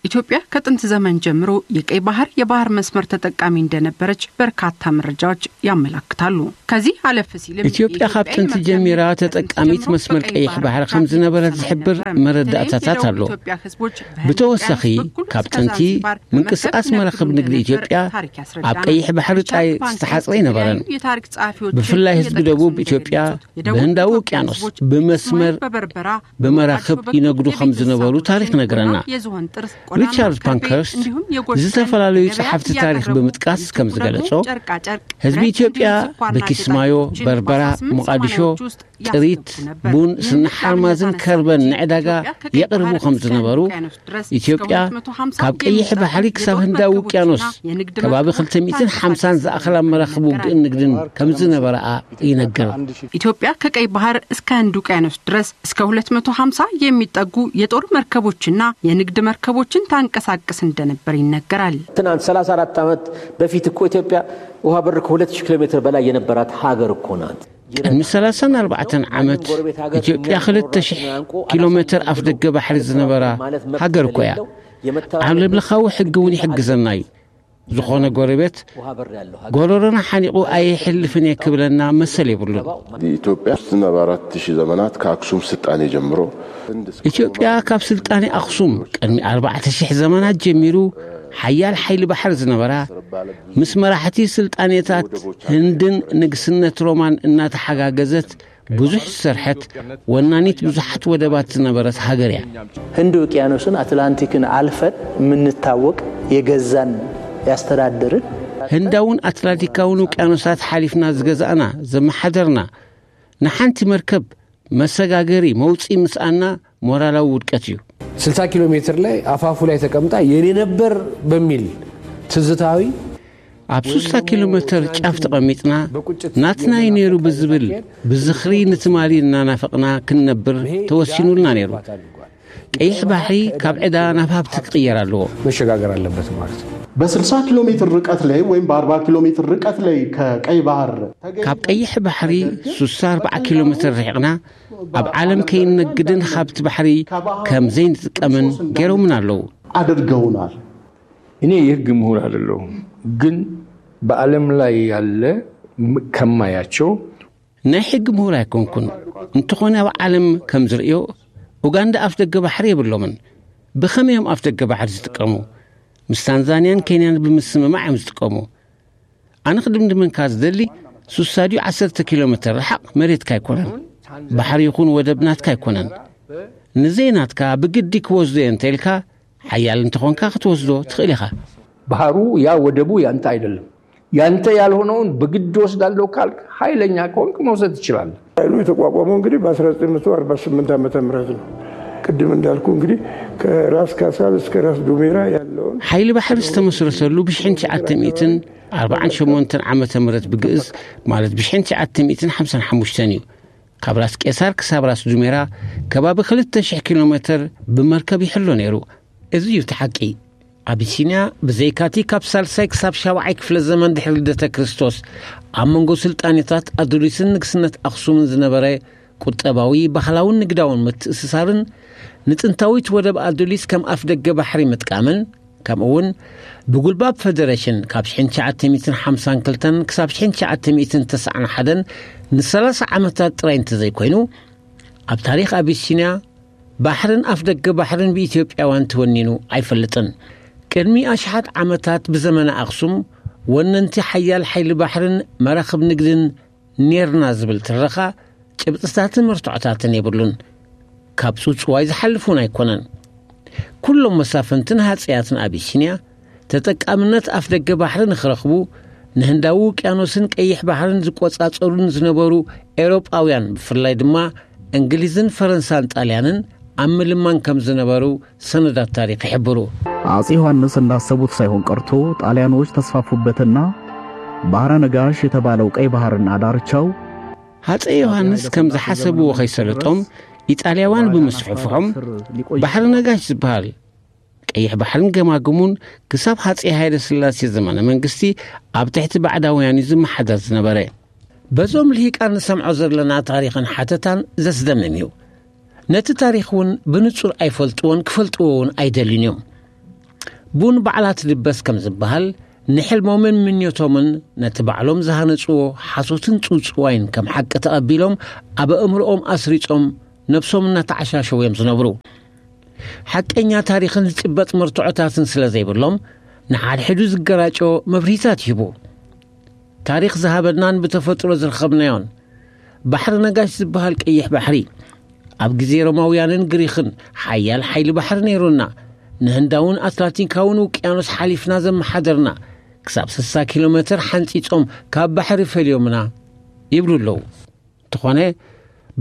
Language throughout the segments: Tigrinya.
ኢትዮጵያ ከጥንት ዘመን ጀምሮ የቀይ ባህር የባህር መስመር ተጠቃሚ እንደነበረች በርካታ መረጃዎች ያመላክታሉ። ከዚህ አለፍ ሲልም ኢትዮጵያ ካብ የኢትዮጵያ ጥንቲ የመርከብ ጀሚራ ንግድ ተጠቃሚት ጀምሮ መስመር በቀይ ቀይሕ ባህር ባህር ከም ዝነበረት ትራንዚት ዝሕብር የነበረ። መረዳእታታት በተለይ ኣሎ። የደቡብ ኢትዮጵያ ህዝቦች በህንድ ብተወሳኺ፣ ውቅያኖስ ካብ ጥንቲ እስከ ዛንዚባር ምንቅስቃስ በመርከብ መራኽብ ንግዲ ንግድ ኢትዮጵያ የነበረ ታሪክ ኣብ ያስረዳል። ቀይሕ ባሕሪ ጃክ ጣይ ፓንክረስት ዝተሓጽረ ኣይነበረን። የተለያዩ የታሪክ ጸሐፊዎችን ብፍላይ ህዝቢ የመጠቀሱ ደቡብ ኢትዮጵያ እንደገለጹት፣ የደቡብ በህንዳዊ ኢትዮጵያ ውቅያኖስ ህዝቦች ብመስመር በመራኽብ በመራኽብ ይነግዱ ከም ዝነበሩ ታሪክ ነግረና። የዝሆን ጥርስ፣ ሪቻርድ ፓንከርስት ዝተፈላለዩ ጸሓፍቲ ታሪክ ብምጥቃስ ከም ዝገለጾ፣ ህዝቢ ኢትዮጵያ በኪስማዮ፣ በርበራ፣ ሞቃዲሾ፣ ጥሪት፣ ቡን፣ ስኒ ሓርማዝን ከርበን ንዕዳጋ የቕርቡ ከም ዝነበሩ፣ ኢትዮጵያ ካብ ቀይሕ ባሕሪ ክሳብ ህንዳዊ ውቅያኖስ ከባቢ ክልተ ሚእትን ሓምሳን ዝኣኽላ መራኽብ ውግእን ንግድን ከም ዝነበረኣ ይነግር። ኢትዮጵያ ከቀይ ባህር እስከ ህንድ ውቅያኖስ ድረስ እስከ ሁለት መቶ ሃምሳ የሚጠጉ የጦር መርከቦችና የንግድ መርከቦችን ታንቀሳቅስ እንደነበር ይነገራል። ትናንት ሠላሳ አራት ዓመት በፊት እኮ ኢትዮጵያ ውሃ በር ከሁለት ሺህ ኪሎ ሜትር በላይ የነበራት ሀገር እኮ ናት። ቅድሚ ሠላሳን ኣርባዕተን ዓመት ኢትዮጵያ ክልተ ሺሕ ኪሎ ሜትር ኣፍ ደገ ባሕሪ ዝነበራ ሃገር እኮ እያ። ዓለም ለኻዊ ሕጊ እውን ይሕግዘና እዩ። ዝኾነ ጎረቤት ጎረሮና ሓኒቑ ኣይሕልፍን እየ ክብለና መሰል የብሉን። ኢትዮጵያ ዝነበራት ሺህ ዘመናት ከአክሱም ስልጣኔ ጀምሮ ኢትዮጵያ ካብ ስልጣኔ ኣኽሱም ቅድሚ ኣርባዕተ ሺሕ ዘመናት ጀሚሩ ሓያል ሓይሊ ባሕሪ ዝነበራ፣ ምስ መራሕቲ ስልጣኔታት ህንድን ንግስነት ሮማን እናተሓጋገዘት ብዙሕ ዝሰርሐት፣ ወናኒት ብዙሓት ወደባት ዝነበረት ሃገር እያ። ህንድ ውቅያኖስን አትላንቲክን አልፈን የምንታወቅ፣ የገዛን፣ ያስተዳደርን ህንዳውን ኣትላንቲካውን ውቅያኖሳት ሓሊፍና ዝገዛእና፣ ዘመሓደርና፣ ንሓንቲ መርከብ መሰጋገሪ መውፅኢ ምስኣና ሞራላዊ ውድቀት እዩ። ስልሳ ኪሎ ሜትር ላይ አፋፉ ላይ ተቀምጣ የኔ ነበር በሚል ትዝታዊ ኣብ ስልሳ ኪሎ ሜትር ጫፍ ተቐሚጥና፣ ናትና እዩ ነይሩ ብዝብል ብዝኽሪ ንትማሊ እናናፈቕና ክንነብር ተወሲኑልና ነይሩ። ቀይሕ ባሕሪ ካብ ዕዳ ናብ ሃብቲ ክቕየር ኣለዎ። መሸጋገር ኣለበት ማለት ነው። በስልሳ ኪሎ ሜትር ርቀት ላይ ወይም በአርባ ኪሎ ሜትር ርቀት ላይ ከቀይ ባህር ካብ ቀይሕ ባሕሪ ስሳ ኣርባዓ ኪሎ ሜትር ርሒቕና፣ ኣብ ዓለም ከይንነግድን ሃብቲ ባሕሪ ከም ዘይንጥቀምን ገይሮምና ኣለዉ። አድርገውናል። እኔ የህግ ምሁር አይደለሁም፣ ግን በዓለም ላይ ያለ ም-፣ ከማያቸው ናይ ሕጊ ምሁር ኣይኮንኩን። እንተኾነ ኣብ ዓለም ከም ዝርእዮ፣ ኡጋንዳ ኣፍ ደገ ባሕሪ የብሎምን። ብኸመይ እዮም ኣፍ ደገ ባሕሪ ዝጥቀሙ? ምስ ታንዛንያን ኬንያን ብምስምማዕ እዮም ዝጥቀሙ። ኣነ ክድምድመንካ ዝደሊ፣ ስሳ ድዩ ዓሰርተ ኪሎ ሜትር ርሓቕ መሬትካ ኣይኮነን። ባሕሪ ይኹን ወደብ ናትካ ኣይኮነን። ንዘይናትካ ብግዲ ክወስዶ እየ እንተኢልካ፣ ሓያል እንተኾንካ ክትወስዶ ትኽእል ኢኻ። ባህሩ ያ ወደቡ ያንተ አይደለም። ያንተ ያልሆነውን በግድ ወስዳለሁ ካልክ፣ ኃይለኛ ከሆንክ መውሰድ ትችላለህ። ኃይሉ የተቋቋመው እንግዲህ በአስራ ዘጠኝ መቶ አርባ ስምንት ዓመተ ምህረት ነው። ቅድም እንዳልኩ እንግዲህ ከራስ ካሳል እስከ ራስ ዱሜራ ያለውን ሓይሊ ባሕሪ ዝተመስረተሉ ብሽሕን ትሽዓተ ሚእትን ኣርባዓን ሸሞንተን ዓመተ ምህረት ብግእዝ፣ ማለት ብሽሕን ትሽዓተ ሚእትን ሓምሳን ሓሙሽተን እዩ። ካብ ራስ ቄሳር ክሳብ ራስ ዱሜራ ከባቢ ክልተ ሽሕ ኪሎ ሜትር ብመርከብ ይሕሎ ነይሩ። እዚ እዩ እቲ ሓቂ። ኣቢሲንያ ብዘይካቲ ካብ ሳልሳይ ክሳብ ሻብዓይ ክፍለ ዘመን ድሕሪ ልደተ ክርስቶስ ኣብ መንጎ ስልጣኔታት ኣዱሊስን ንግስነት ኣኽሱምን ዝነበረ ቁጠባዊ፣ ባህላውን ንግዳውን ምትእስሳርን፣ ንጥንታዊት ወደብ ኣዱሊስ ከም ኣፍ ደገ ባሕሪ ምጥቃምን፣ ከምኡ እውን ብጉልባብ ፈደረሽን ካብ ሽሕን ትሽዓተ ሚእትን ሓምሳን ክልተን ክሳብ ሽሕን ትሽዓተ ሚእትን ተስዓን ሓደን ንሰላሳ ዓመታት ጥራይ እንተዘይኮይኑ፣ ኣብ ታሪኽ ኣቢሲንያ ባሕርን ኣፍ ደገ ባሕርን ብኢትዮጵያውያን ተወኒኑ ኣይፈልጥን። ቅድሚ ኣሽሓት ዓመታት ብዘመነ ኣኽሱም ወነንቲ ሓያል ሓይሊ ባሕርን መራኽብ ንግድን ኔርና ዝብል ትረኻ ጭብጥታትን መርትዖታትን የብሉን። ካብ ጽውጽዋይ ዝሓልፍ እውን ኣይኮነን። ኩሎም መሳፍንትን ሃጸያትን ኣቢሲንያ ተጠቃምነት ኣፍ ደገ ባሕሪ ንኽረኽቡ ንህንዳዊ ውቅያኖስን ቀይሕ ባሕርን ዝቆጻጸሩን ዝነበሩ ኤውሮጳውያን፣ ብፍላይ ድማ እንግሊዝን ፈረንሳን ጣልያንን ኣብ ምልማን ከም ዝነበሩ ሰነዳት ታሪኽ ይሕብሩ። አጼ ዮሐንስ እንዳሰቡት ሳይሆን ቀርቶ ጣሊያኖች ተስፋፉበትና ባህረ ነጋሽ የተባለው ቀይ ባህርና ዳርቻው ሃፀይ ዮሐንስ ከም ዝሓሰብዎ ከይሰለጦም ኢጣልያውያን ብምስፍሕፍሖም ባሕሪ ነጋሽ ዝበሃል ቀይሕ ባሕርን ገማግሙን ክሳብ ሃፀይ ሃይለ ስላሴ ዘመነ መንግስቲ ኣብ ትሕቲ ባዕዳውያን እዩ ዝመሓደር ዝነበረ። በዞም ልሂቃን ንሰምዖ ዘለና ታሪኽን ሓተታን ዘስደምም እዩ። ነቲ ታሪኽ እውን ብንጹር ኣይፈልጥዎን ክፈልጥዎ እውን ኣይደልዩን እዮም። ቡን ባዕላ ትድበስ ከም ዝበሃል፣ ንሕልሞምን ምንዮቶምን ነቲ ባዕሎም ዝሃነጽዎ ሓሶትን ጽውጽዋይን ከም ሓቂ ተቐቢሎም፣ ኣብ ኣእምሮኦም ኣስሪጾም ነብሶም እናተዓሻሸው እዮም ዝነብሩ። ሓቀኛ ታሪኽን ዝጭበጥ መርትዖታትን ስለ ዘይብሎም፣ ንሓድሕዱ ዝገራጮ መብርሂታት ይህቡ። ታሪኽ ዝሃበናን ብተፈጥሮ ዝረኸብናዮን፣ ባሕሪ ነጋሽ ዝበሃል ቀይሕ ባሕሪ፣ ኣብ ግዜ ሮማውያንን ግሪኽን ሓያል ሓይሊ ባሕሪ ነይሩና። ንህንዳውን ኣትላንቲካውን ውቅያኖስ ሓሊፍና ዘመሓደርና፣ ክሳብ ስሳ ኪሎ ሜትር ሓንጺጾም ካብ ባሕሪ ፈልዮምና ይብሉ ኣለዉ። እንተኾነ፣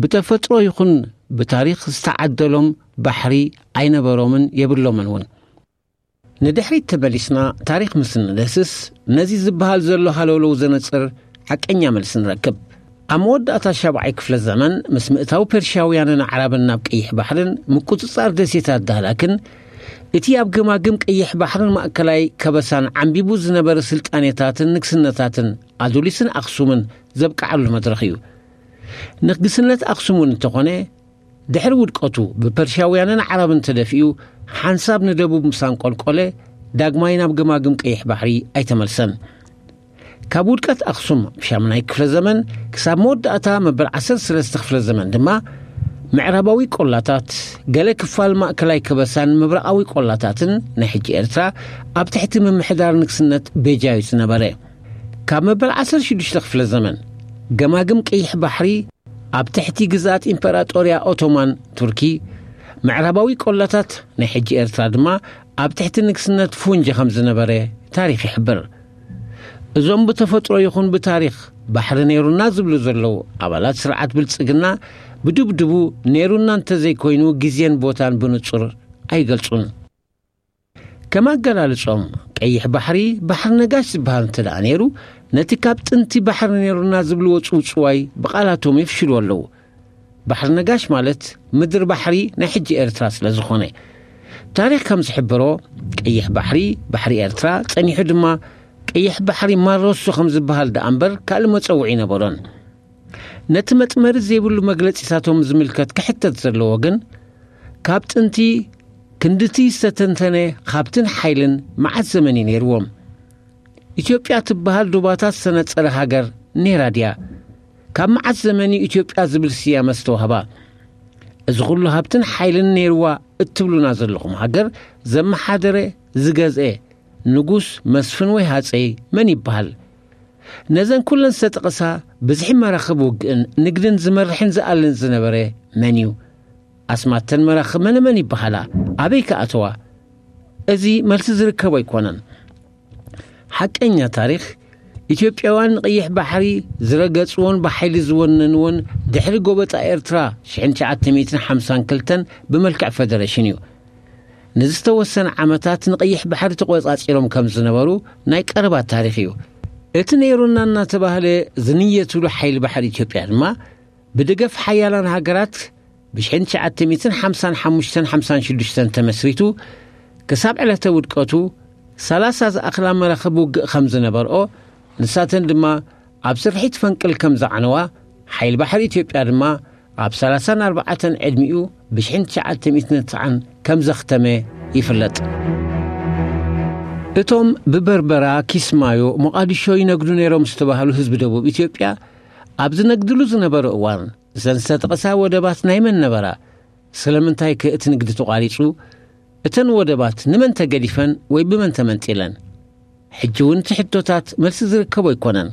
ብተፈጥሮ ይኹን ብታሪኽ ዝተዓደሎም ባሕሪ ኣይነበሮምን የብሎምን እውን። ንድሕሪት ተመሊስና ታሪኽ ምስ ንደስስ፣ ነዚ ዝበሃል ዘሎ ሃለውለው ዘነጽር ሓቀኛ መልሲ ንረክብ። ኣብ መወዳእታ ሻብዓይ ክፍለ ዘመን፣ ምስ ምእታው ፐርሽያውያንን ኣዕራብን ናብ ቀይሕ ባሕርን ምቁጽጻር ደሴታት ዳህላክን፣ እቲ ኣብ ገማግም ቀይሕ ባሕርን ማእከላይ ከበሳን ዓምቢቡ ዝነበረ ስልጣኔታትን ንግስነታትን ኣዱሊስን ኣኽሱምን ዘብቅዓሉ መድረኽ እዩ። ንግስነት ኣኽሱም እውን እንተኾነ፣ ድሕሪ ውድቀቱ ብፐርሽያውያንን ዓረብን ተደፊኡ፣ ሓንሳብ ንደቡብ ምስ ኣንቆልቆለ፣ ዳግማይ ናብ ገማግም ቀይሕ ባሕሪ ኣይተመልሰን። ካብ ውድቀት ኣኽሱም ሻምናይ ክፍለ ዘመን ክሳብ መወዳእታ መበል ዓሰርተ ሰለስተ ክፍለ ዘመን ድማ፣ ምዕራባዊ ቆላታት፣ ገለ ክፋል ማእከላይ ከበሳን ምብራቓዊ ቆላታትን ናይ ሕጂ ኤርትራ ኣብ ትሕቲ ምምሕዳር ንግስነት ቤጃ እዩ ዝነበረ። ካብ መበል ዓሰርተ ሽዱሽተ ክፍለ ዘመን፣ ገማግም ቀይሕ ባሕሪ ኣብ ትሕቲ ግዝኣት ኢምፐራጦርያ ኦቶማን ቱርኪ፣ ምዕራባዊ ቆላታት ናይ ሕጂ ኤርትራ ድማ ኣብ ትሕቲ ንግስነት ፉንጂ ከም ዝነበረ ታሪኽ ይሕብር። እዞም ብተፈጥሮ ይኹን ብታሪኽ ባሕሪ ነይሩና ዝብሉ ዘለዉ ኣባላት ስርዓት ብልጽግና፣ ብድብድቡ ነይሩና እንተዘይኮይኑ፣ ግዜን ቦታን ብንጹር ኣይገልጹን። ከም ኣገላልጾም፣ ቀይሕ ባሕሪ፣ ባሕሪ ነጋሽ ዝበሃል እንተ ደኣ ነይሩ፣ ነቲ ካብ ጥንቲ ባሕሪ ነይሩና ዝብልዎ ጽውጽዋይ ብቓላቶም የፍሽልዎ ኣለዉ። ባሕሪ ነጋሽ ማለት ምድሪ ባሕሪ ናይ ሕጂ ኤርትራ ስለ ዝኾነ። ታሪኽ ከም ዝሕብሮ፣ ቀይሕ ባሕሪ፣ ባሕሪ ኤርትራ፣ ጸኒሑ ድማ ቀይሕ ባሕሪ ማሮሶ ከም ዝበሃል ደኣ እምበር ካልእ መጸውዒ ኣይነበሮን። ነቲ መጥመሪ ዘይብሉ መግለጺታቶም ዝምልከት ክሕተት ዘለዎ ግን፣ ካብ ጥንቲ ክንድቲ ዝተተንተነ ሃብትን ሓይልን መዓት ዘመን እዩ ነይርዎም። ኢትዮጵያ ትበሃል ዶባታት ዝተነጸረ ሃገር ነይራ ድያ? ካብ መዓት ዘመን እዩ ኢትዮጵያ ዝብል ስያመ ዝተዋህባ? እዚ ኩሉ ሃብትን ሓይልን ነይርዋ እትብሉና ዘለኹም ሃገር ዘመሓደረ፣ ዝገዝአ፣ ንጉስ፣ መስፍን ወይ ሃጸይ መን ይበሃል? ነዘን ኩለን ዝተጠቐሳ ብዝሒ መራኽብ ውግእን ንግድን ዝመርሕን ዝኣልን ዝነበረ መን እዩ? ኣስማተን መራኽብ መነ መን ይበሃላ? ኣበይ ከ ኣተዋ? እዚ መልሲ ዝርከቦ ኣይኮነን። ሓቀኛ ታሪኽ፣ ኢትዮጵያውያን ንቐይሕ ባሕሪ ዝረገጽዎን ብሓይሊ ዝወነንዎን ድሕሪ ጎበጣ ኤርትራ ሽሕን ትሽዓተ ሚእትን ሓምሳን ክልተን ብመልክዕ ፈደረሽን እዩ። ንዝተወሰነ ዓመታት ንቐይሕ ባሕሪ ተቖጻጺሮም ከም ዝነበሩ ናይ ቀረባ ታሪኽ እዩ። እቲ ነይሩና እናተባህለ ዝንየትሉ ሓይሊ ባሕሪ ኢትዮጵያ ድማ፣ ብደገፍ ሓያላን ሃገራት ብሽሕን ትሽዓተ ሚእትን ሓምሳን ሓሙሽተን ሓምሳን ሽዱሽተን ተመስሪቱ፣ ክሳብ ዕለተ ውድቀቱ ሰላሳ ዝኣኽላ መራኽብ ውግእ ከም ዝነበርኦ፣ ንሳተን ድማ ኣብ ስርሒት ፈንቅል ከም ዝዓነዋ፣ ሓይሊ ባሕሪ ኢትዮጵያ ድማ ኣብ ሰላሳን ኣርባዕተን ዕድሚኡ ብሽሕን ትሽዓተ ሚእትን ትስዓን ከም ዘኽተመ ይፍለጥ። እቶም ብበርበራ፣ ኪስማዮ፣ ሞቓዲሾ ይነግዱ ነይሮም ዝተባህሉ ህዝቢ ደቡብ ኢትዮጵያ፣ ኣብ ዝነግድሉ ዝነበሩ እዋን፣ እዘን ዝተጠቕሳ ወደባት ናይ መን ነበራ? ስለምንታይ ከ እቲ ንግዲ ተቋሪጹ? እተን ወደባት ንመን ተገዲፈን ወይ ብመን ተመንጢለን? ሕጂ እውን እቲ ሕቶታት መልሲ ዝርከቦ ኣይኮነን።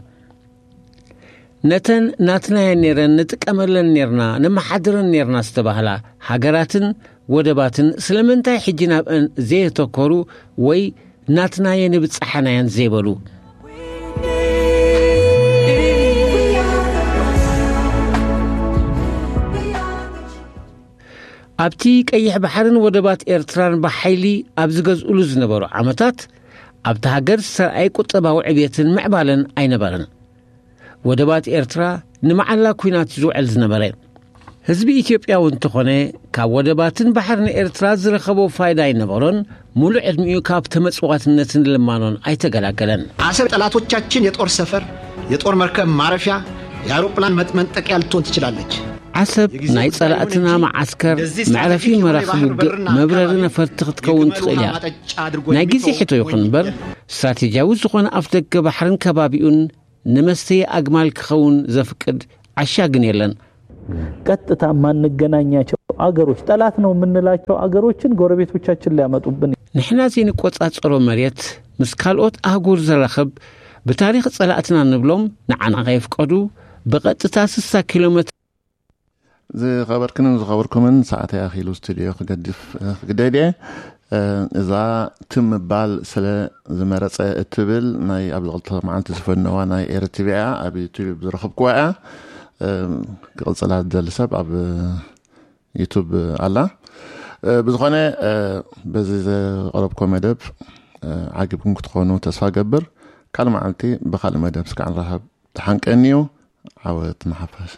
ነተን ናትናየን ነይረን፣ ንጥቀመለን ነይርና፣ ነመሓድረን ነይርና ዝተባህላ ሃገራትን ወደባትን ስለምንታይ ሕጂ ናብአን ዘየተኮሩ ወይ ናትናየን ይብጽሓናየን ዘይበሉ? ኣብቲ ቀይሕ ባሕርን ወደባት ኤርትራን ብሓይሊ ኣብ ዝገዝኡሉ ዝነበሩ ዓመታት፣ ኣብቲ ሃገር ዝተርኣየ ቁጠባዊ ዕብየትን ምዕባለን ኣይነበረን። ወደባት ኤርትራ ንመዓላ ኲናት ዝውዕል ዝነበረ። ህዝቢ ኢትዮጵያ እውን እንተኾነ፣ ካብ ወደባትን ባሕርን ኤርትራ ዝረኸቦ ፋይዳ ኣይነበሮን። ሙሉእ ዕድሚኡ ካብ ተመጽዋትነትን ልማኖን ኣይተገላገለን። አሰብ ጠላቶቻችን የጦር ሰፈር፣ የጦር መርከብ ማረፊያ፣ የአውሮፕላን መጥመንጠቂያ ልትሆን ትችላለች። ዓሰብ ናይ ጸላእትና መዓስከር፣ መዕረፊ መራኽብ ውግእ፣ መብረሪ ነፈርቲ ክትከውን ትኽእል እያ። ናይ ግዜ ሕቶ ይኹን እምበር፣ ስትራቴጂያዊ ዝኾነ ኣፍደገ ባሕርን ከባቢኡን ንመስተዪ ኣግማል ክኸውን ዘፍቅድ ዓሻ ግን የለን። ቀጥታ የማንገናኛቸው አገሮች፣ ጠላት ነው የምንላቸው አገሮችን ጎረቤቶቻችን ሊያመጡብን። ንሕና ዘይንቆጻጸሮ መሬት ምስ ካልኦት ኣህጉር ዘራኽብ፣ ብታሪኽ ጸላእትና ንብሎም ንዓና ከየፍቀዱ ብቐጥታ ስሳ ኪሎ ሜትር ዝኸበርክንን ዝኸበርኩምን፣ ሰዓተይ ኣኺሉ ስቱድዮ ክገድፍ ክግደድ እየ። እዛ ትም ምባል ስለ ዝመረጸ እትብል ናይ ኣብዚ ክልተ መዓልቲ ዝፈነዋ ናይ ኤርትቪ እያ። ኣብ ዩቱብ ዝረኸብኩዋ እያ። ክቕጽላ ዝደሊ ሰብ ኣብ ዩቱብ ኣላ። ብዝኾነ፣ በዚ ዘቐረብኮ መደብ ዓጊብኩም ክትኾኑ ተስፋ ገብር። ካልእ መዓልቲ ብኻልእ መደብ እስካዕ ንራኸብ። ተሓንቀኒ እዩ። ዓወት ንሓፋሽ።